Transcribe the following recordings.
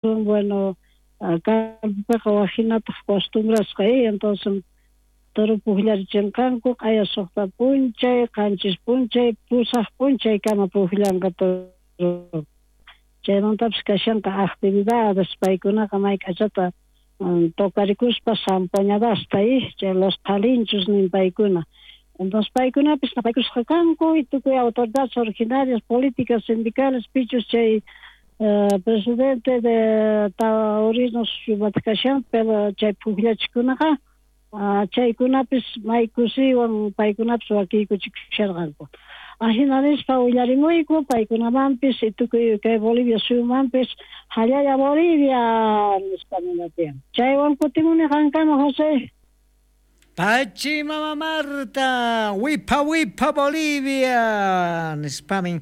Bueno, campopiqa waj jinataq costumbrasqa, entonces toro pujllarichinqanku q'aya 6 p'unchay, 7 p'unchay, 8 p'unchaykama pujllanqa toro. Chaymantapis kashanqa actividades, paykunaqa may k'achata tocarikuspa zampañadasta, chay los palinchos nin paykuna. Entonces paykunapis napaykusqa kanku y tukuy autoridades originarias, políticas, sindicales, pichus chay presidente de taurinos kashan, pero chay pujllachikunaqa chaykunapis may kusiywan paykunapis wakiykuchikusharqanku. Ajina nispa willarimuyku paykunamanpis y tukuy kay Bolivia suyumanpis jallalla Bolivia nispa ninatiyan. Chaywan kutimuni qankama, José. Pachi Mama Marta, wipha wipha Bolivia nispamin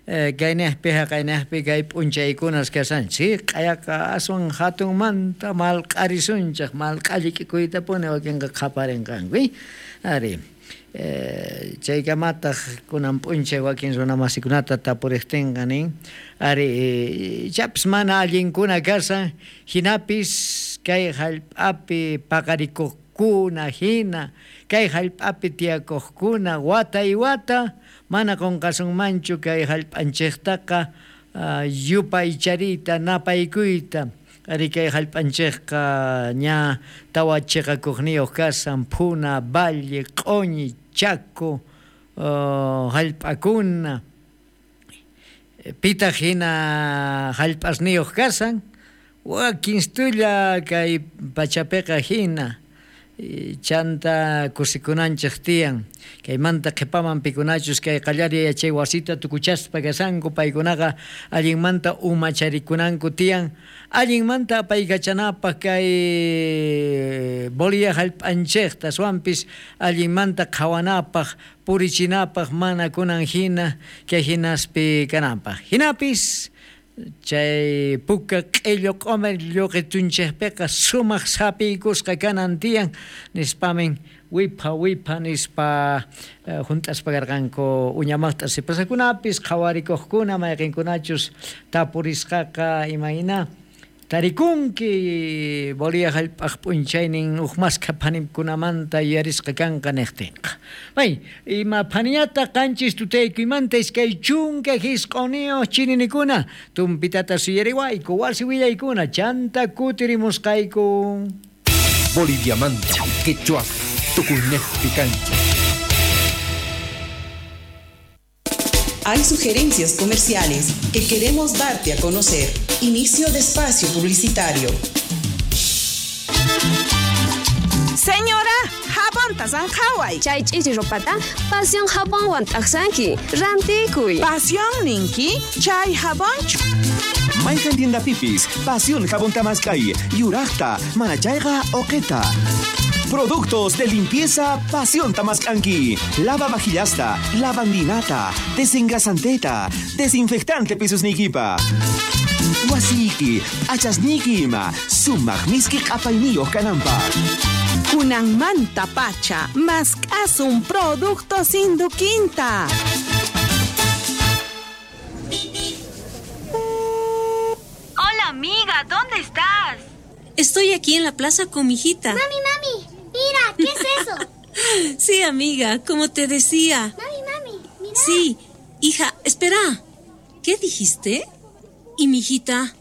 kaynejpi jaqaynejpi kay p'unchaykunas kashanchik q'ayaqa aswan hatunmanta malq'arisunchik malq'allik'ikuytapuni wakinqa qhaparinqanku ari chaykamataq kunan p'unchay wakin runamasikunata tapuriqtinqa nin ari ichapis mana allinkuna kashan hinapis kay hallp'api paqarikuqkuna hina kay hallp'api tiyakuqkuna wata y wata mana qunqasunmanchu kay hallp'anchiktaqa yupaychariyta napaykuyta ari kay hallp'anchikqa ña tawa chiqakuqniyuq kashan Phuna, Valle, Q'uñi, Chaco hallp'akuna pitaq hina hallp'asniyuq kashan wakinstulla kay pachapiqa hina chanta kusikunanchik tiyan kaymanta qhipaman pikunachus kay qallariy yachay wasita tukuchaspa kashanku paykunaqa allinmanta umacharikunanku tiyan allinmanta apaykachanapaq kay Bolivia hallp'anchikta aswanpis allinmanta qhawanapaq purichinapaq mana kunan hina kay hinaspi kananpaq hinapis chay puka q'illu q'umir lluqitunchikpiqa sumaq sapiykusqa kanan tiyan nispamin wipha wipha nispa hunt'aspa karqanku uñamaqta sipasakunapis qhawarikuqkuna mayqinkunachus tapurisqaqa imayna tarikunki Bolivia hallp'aq p'unchaynin huk maskha phanimkunamanta yuyarisqa kanqa niqtinqa. May ima phaniñata 7 tutaykuymanta 29 chininikuna tumpitata suyariwayku wasi willaykuna chanta kutirimusqayku. Boliviamanta quechua tukuynejpi kanchik. Hay sugerencias comerciales que queremos darte a conocer. Inicio de espacio publicitario. Señora, jabonta zanjaway. Chay ch'ichi ropata, Pasión jabonwan t'aqsanki. Rantikuy. Pasión ninki, chay jabonchu. Mayqan tiendapipis, Pasión jabón tamaskay, yuraqta, manachayqa oqeta. Productos de limpieza Pasión Tamascanqui. Lava vajillasta, lavandinata, desengrasanteta, desinfectante pisos nikipa. Wasiki, achasniki ima, sumaq miski q'apayniyuq kananpaq. Kunanmanta pacha, mask'asun productos Induquinta. Hola amiga, ¿dónde estás? Estoy aquí en la plaza con mi hijita. Mami, mami, mira, ¿qué es eso? Sí, amiga, como te decía. Mami, mami, mira. Sí, hija, espera. ¿Qué dijiste? ¿Y mi hijita?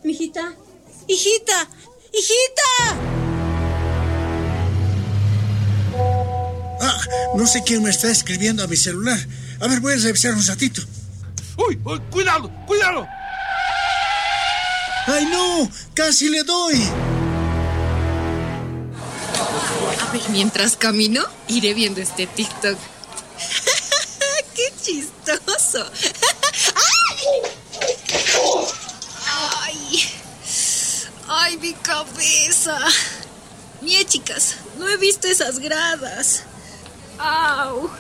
¿Mi hijita? ¡Hijita! ¡Hijita! Ah, no sé quién me está escribiendo a mi celular. A ver, voy a revisar un ratito. ¡Uy! ¡Uy! ¡Cuidado! ¡Cuidado! ¡Ay, no! ¡Casi le doy! A ver, mientras camino, iré viendo este TikTok. ¡Qué chistoso! ¡Ay! ¡Ay, mi cabeza! Mie, chicas, no he visto esas gradas. ¡Au!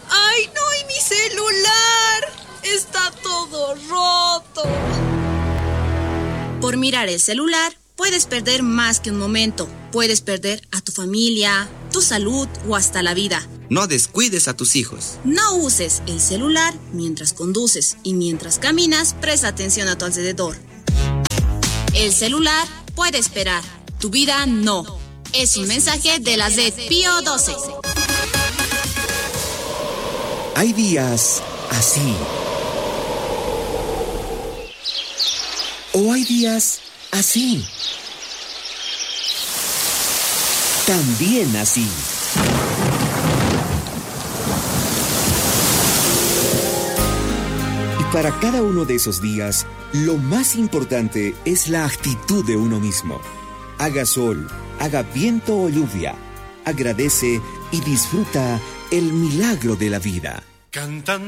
¡Ay, no! ¡Y mi celular! ¡Está todo roto! Por mirar el celular, puedes perder más que un momento. Puedes perder a tu familia, tu salud o hasta la vida. No descuides a tus hijos. No uses el celular mientras conduces y mientras caminas, presta atención a tu alrededor. El celular puede esperar, tu vida no. Es un mensaje de la Z Pío 12. Hay días así. O hay días así. También así. Y para cada uno de esos días, lo más importante es la actitud de uno mismo. Haga sol, haga viento o lluvia. Agradece y disfruta el milagro de la vida. Cantando.